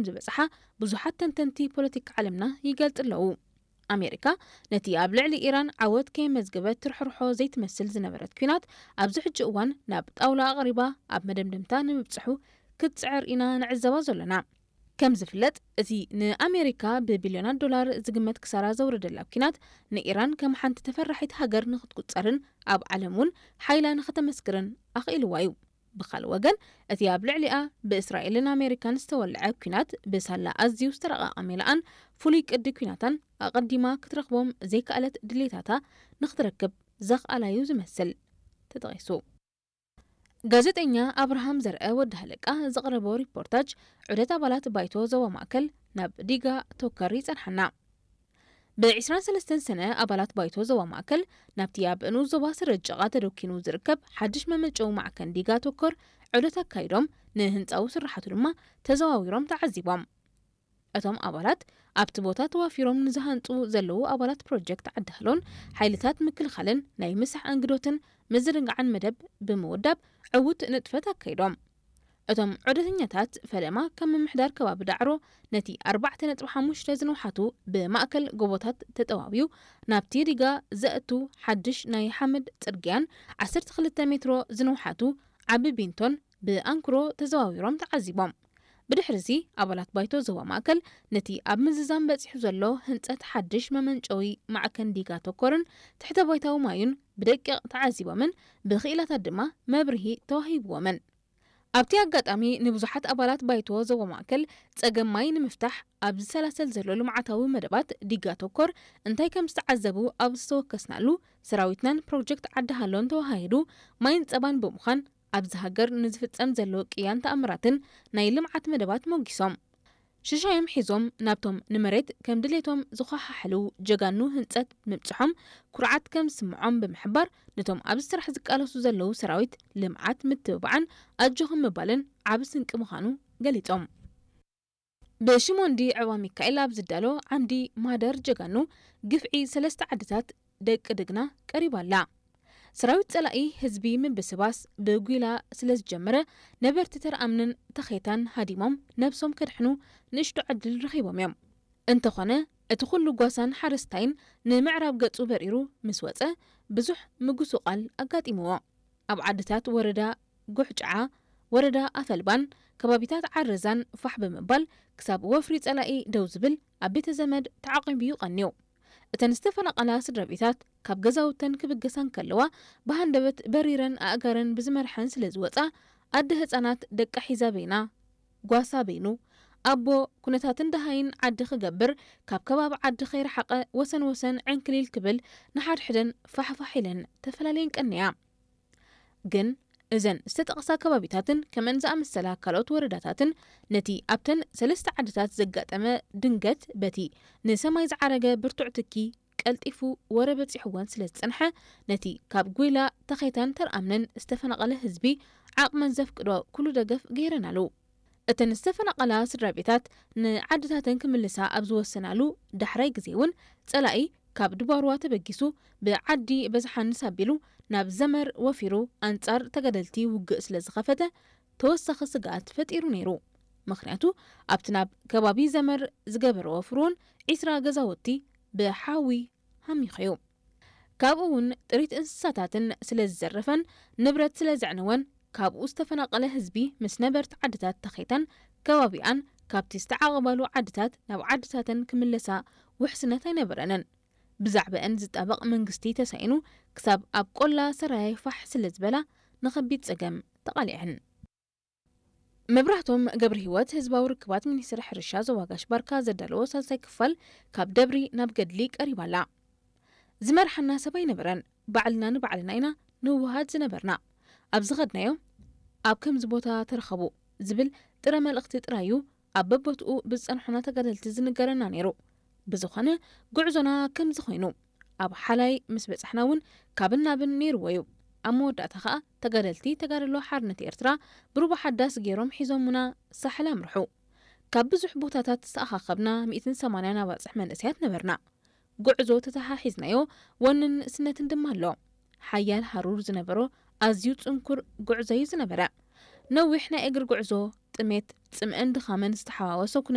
ዝበጽሓ ብዙሓት ተንተንቲ ፖለቲካ ዓለምና ይገልጽ ኣለዉ። ኣሜሪካ ነቲ ኣብ ልዕሊ ኢራን ዓወት ከየመዝገበት ትርሕርሖ ዘይትመስል ዝነበረት ኲናት፣ ኣብዚ ሕጂ እዋን ናብ ጣውላ ኣቕሪባ ኣብ መደምደምታ ንምብጽሑ ክትጽዕር ኢና ንዕዘባ ዘሎና። ከም ዝፍለጥ፣ እቲ ንኣሜሪካ ብቢልዮናት ዶላር ዝግመት ክሳራ ዘውረደላ ኲናት፣ ንኢራን ከም ሓንቲ ተፈራሒት ሃገር ንኽትቁጸርን ኣብ ዓለም እውን ሓይላ ንኽተመስክርን ኣኽኢልዋ እዩ። ብኻልእ ወገን፣ እቲ ኣብ ልዕሊኣ ብእስራኤልን ኣሜሪካን ዝተወልዐ ኲናት፣ ብሳላ ኣዝዩ ዝተረቓቐ ሜላኣን ፍሉይ ቅዲ ኲናታን ኣቐዲማ ክትረኽቦም ዘይከኣለት ድሌታታ ንኽትረክብ ዘኽኣላ እዩ ዝመስል ተጠቒሱ። ጋዜጠኛ ኣብርሃም ዘርአ ወዲ ሃለቃ ዘቕረቦ ሪፖርታጅ ዑደት ኣባላት ባይቶ ዞባ ማእከል ናብ ዲጋ ቶከር ይጸንሓና። ብ23 ሰነ ኣባላት ባይቶ ዞባ ማእከል ናብቲ ኣብ ንኡስ ዞባ ስረ ጭቓ ተደኪኑ ዝርከብ ሓድሽ መመንጨዊ ማዕከን ዲጋ ቶከር ዑደት ኣካይዶም፣ ንህንጻዊ ስራሓቱ ድማ ተዘዋዊሮም ተዓዚቦም። እቶም ኣባላት ኣብቲ ቦታ ተዋፊሮም ንዝሃንጹ ዘለዉ ኣባላት ፕሮጀክት ዓዲ ሃሎን ሓይልታት ምክልኻልን ናይ ምሳሕ ኣንግዶትን ምዝንጋዕን መደብ ብምውዳብ ዕዉት ንጥፈት ኣካይዶም። እቶም ዑደተኛታት ፈለማ ካብ ምምሕዳር ከባቢ ዳዕሮ ነቲ 4.5 ዝንውሓቱ ብማእከል ጎቦታት ተጠዋውዩ ናብቲ ዲጋ ዘእቱ ሓድሽ ናይ ሓመድ ጽርግያን 12 ሜትሮ ዝንውሓቱ ዓቢ ቢንቶን ብኣንክሮ ተዘዋዊሮም ተዓዚቦም። ብድሕሪዚ ኣባላት ባይቶ ዞባ ማእከል ነቲ ኣብ ምዝዛም በጺሑ ዘሎ ህንጸት ሓድሽ መመንጨዊ ማዕከን ዲጋ ቶኮርን ትሕተ ባይታዊ ማዩን ብደቂቕ ተዓዚቦምን ብክኢላታት ድማ መብርሂ ተዋሂብዎምን። ኣብቲ ኣጋጣሚ ንብዙሓት ኣባላት ባይቶ ዞባ ማእከል ጸገም ማይ ንምፍታሕ ኣብ ዝሰላሰል ዘሎ ልምዓታዊ መደባት ዲጋ ቶኮር እንታይ ከም ዝተዓዘቡ ኣብ ዝተወከስናሉ፣ ሰራዊትናን ፕሮጀክት ዓዲ ሃሎን ተወሃሂዱ ማይን ጸባን ብምዃን ኣብዚ ሃገር ንዝፍጸም ዘሎ ቅያን ተኣምራትን ናይ ልምዓት መደባት ሞጊሶም። ሽሻዮም ሒዞም ናብቶም ንመሬት ከም ድሌቶም ዝኸሓሕሉ ጀጋኑ ህንጸት ምብጽሖም ኩርዓት ከም ዝስምዖም ብምሕባር፣ ነቶም ኣብዚ ስራሕ ዝቃለሱ ዘለዉ ሰራዊት ልምዓት ምትብባዕን ኣጆኹም ምባልን ዓቢ ስንቂ ምዃኑ ገሊጾም። ብሽሞንዲ ዕባ ሚካኤል ኣብ ዝዳሎ ዓምዲ ማህደር ጀጋኑ ግፍዒ ሰለስተ ዓድታት ደቂ ድግና ቀሪባ ኣላ። ሰራዊት ጸላኢ ህዝቢ ምብስባስ ብጒላ ስለ ዝጀመረ፣ ነበርቲ ተርኣምንን ተኼታን ሃዲሞም ነብሶም ከድሕኑ ንእሽቶ ዕድል ረኺቦም እዮም። እንተኾነ፣ እቲ ኩሉ ጓሳን ሓረስታይን ንምዕራብ ገጹ በሪሩ ምስ ወጸ፣ ብዙሕ ምጉስቋል ኣጋጢምዎ። ኣብ ዓድታት ወረዳ ጉሕጭዓ፣ ወረዳ ኣፈልባን ከባቢታት ዓረዛን ፋሕ ብምባል፣ ክሳብ ወፍሪ ጸላኢ ደው ዝብል ኣብ ቤተ ዘመድ ተዓቂቡ እዩ ቀንዩ። እተን ዝተፈናቐላ ስድራ ቤታት ካብ ገዛውተን ክብገሳ እንከለዋ፣ ብሃንደበት በሪረን ኣእጋረን ብዝመርሐን ስለ ዝወጻ፣ ኣደ ህጻናት ደቃ ሒዛ በይና፣ ጓሳ በይኑ፣ ኣቦ ኩነታትን ደሃይን ዓዲ ክገብር፣ ካብ ከባቢ ዓዲ ከይረሓቐ ወሰን ወሰን ዕንክሊል ክብል፣ ንሓድሕደን ፋሕፋሕ ኢለን ተፈላለየን ቀንያ። ግን እዘን ዝተጠቕሳ ከባቢታትን ከምአን ዝኣመሰላ ካልኦት ወረዳታትን ነቲ ኣብተን ሰለስተ ዓድታት ዘጋጠመ ድንገት በቲ ንሰማይ ዝዓረገ ብርቱዕ ትኪ ቀልጢፉ ወረ በጺሕወን ስለ ዝጸንሐ፣ ነቲ ካብ ጒላ፣ ተኼታን ተርኣምነን ዝተፈናቐለ ህዝቢ ዓቕመን ዘፍቅዶ ኩሉ ደገፍ ገይረናሉ። እተን ዝተፈናቐላ ስድራ ቤታት ንዓድታተን ክምልሳ ኣብ ዝወሰናሉ ዳሕራይ ግዜ እውን፣ ጸላኢ ካብ ድባርዋ ተበጊሱ ብዓዲ በዝሓንስ ኣቢሉ ናብ ዘመር ወፊሩ ኣንጻር ተጋደልቲ ውግእ ስለ ዝኸፈተ፣ ተወሳኺ ስግኣት ፈጢሩ ነይሩ። ምኽንያቱ፣ ኣብቲ ናብ ከባቢ ዘመር ዝገበረ ወፍሪ እውን 20 ገዛውቲ ብሓዊ ሃሚኹ እዩ። ካብኡ እውን ጥሪት እንስሳታትን ስለ ዝዘረፈን ንብረት ስለ ዘዕነወን፣ ካብኡ ዝተፈናቐለ ህዝቢ ምስ ነበርቲ ዓድታት ተኼታን ከባቢኣን ካብቲ ዝተዓቐባሉ ዓድታት ናብ ዓድታተን ክምለሳ ውሕስነት ኣይነበረንን። ብዛዕባአን ዝጣበቕ መንግስቲ ተሳኢኑ፣ ክሳብ ኣብ ቆላ ሰራየ ፋሕ ስለ ዝበላ፣ ንኸቢድ ጸገም ተቓሊዐን። መብራህቶም ገብረ ህይወት፣ ህዝባዊ ርክባት ሚኒስትሪ ሕርሻ ዞባ ጋሽ ባርካ ዘዳለዎ ሳልሳይ ክፋል ካብ ደብሪ ናብ ገድሊ ቀሪባ ኣላ። ዝመርሓና ሰብ ኣይነበረን፣ ባዕልና ንባዕልና ኢና ንውሃድ ዝነበርና። ኣብ ዝኸድናዮ፣ ኣብ ከምዚ ቦታ ተረኸቡ ዝብል ጥረ መልእኽቲ ጥራይ እዩ ኣብ በቦትኡ ብዝጸንሑና ተጋደልቲ ዝንገረና ነይሩ። ብዝኾነ፣ ጉዕዞና ከምዚ ኮይኑ፣ ኣብ ሓላይ ምስ በጻሕና እውን ካብን ናብን ነይርዎ እዩ። ኣብ መወዳእታ ኸኣ፣ ተጋደልቲ ተጋድሎ ሓርነት ኤርትራ ብሩባ ሓዳስ ገይሮም ሒዞሙና ሳሕል ኣምርሑ። ካብ ብዙሕ ቦታታት ዝተኣኻኸብና 180 ኣባጽሕ መንእሰያት ነበርና። ጉዕዞ ተተሓሒዝናዮ፣ ወንን ስነትን ድማ ኣሎ። ሓያል ሃሩር ዝነበሮ ኣዝዩ ጽንኩር ጉዕዞ እዩ ዝነበረ። ነዊሕ ናይ እግሪ ጉዕዞ፣ ጥሜት፣ ጽምእን ድኻምን ዝተሓዋወሶ